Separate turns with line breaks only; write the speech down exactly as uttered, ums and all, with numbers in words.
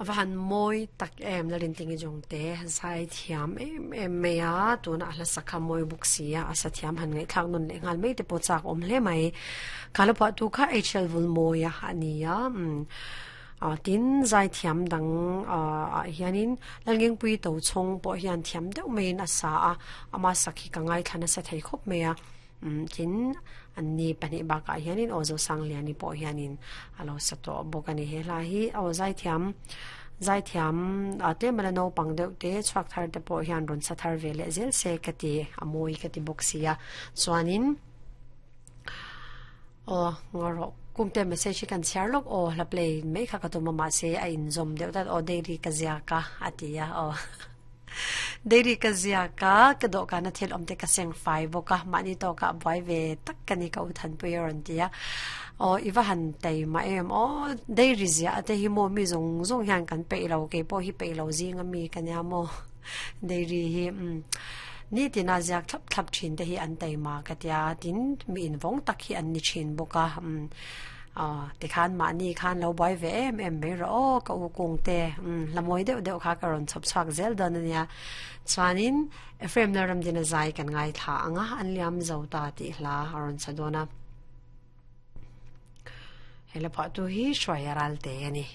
Ava han mawi tak em Lalrintingi Jongte zai thiam em em mai a, tuna a hla sakha mawi bawk si a, a sa thiam han ngaihthlak nawn leh nghal mai te pawh chak awm hle mai. Kha la phuah tu kha H L Vulmawia a ni a, umm ah tin zai thiam dang ah ah hianin Lalngengpui Tochhawng pawh hian thiam deuh maiin a sa a, ama sak hi ka ngaithla nasa thei khawp mai a. Umm tin an ni pahnih bakah hianin aw Zosangliani pawh hianin a lo sa tawh bawk a ni. He hla hi aw zaithiam zaithiam ah tlem a la naupang deuh te chhuak thar te pawh hian rawn sa thar ve leh zel se ka ti a mawi ka ti bawk si a. Chuanin aw ngarawh kumte message hi kan chhiar lawk aw hla play mai kha ka tum a mahse a inzawm deuh tlat aw daily ka ziak a a ti a aw. Dairy ka ziak a, ka dawhkana thil awm te ka seng fai bawk a, mahni tawkah buai ve tak ka ni ka u Thanpui a rawn ti a. Aw i va han tei mah em aw, dairy ziah te hi maw mi zawng zawng hian kan peih lo, kei pawh hi peih lo zing a mi ka nia maw dairy hi umm nitina ziak thlap thlap thin te hi an tei mah ka tia, tin mi invawng tak hi an ni thin bawk a umm. Aw, tikhan mahni khan lo buai ve em em mai rawh aw, ka u kung te, umm, hla mawi deuh deuh kha ka rawn chhawp chhuak zel dawn a nia. Chuanin, Ephraim Lalramdina zai kan ngaithla ang a, an liam zo ta tih hla a rawn sa dawn a. He la phuahtu hi Hruaia Ralte a ni.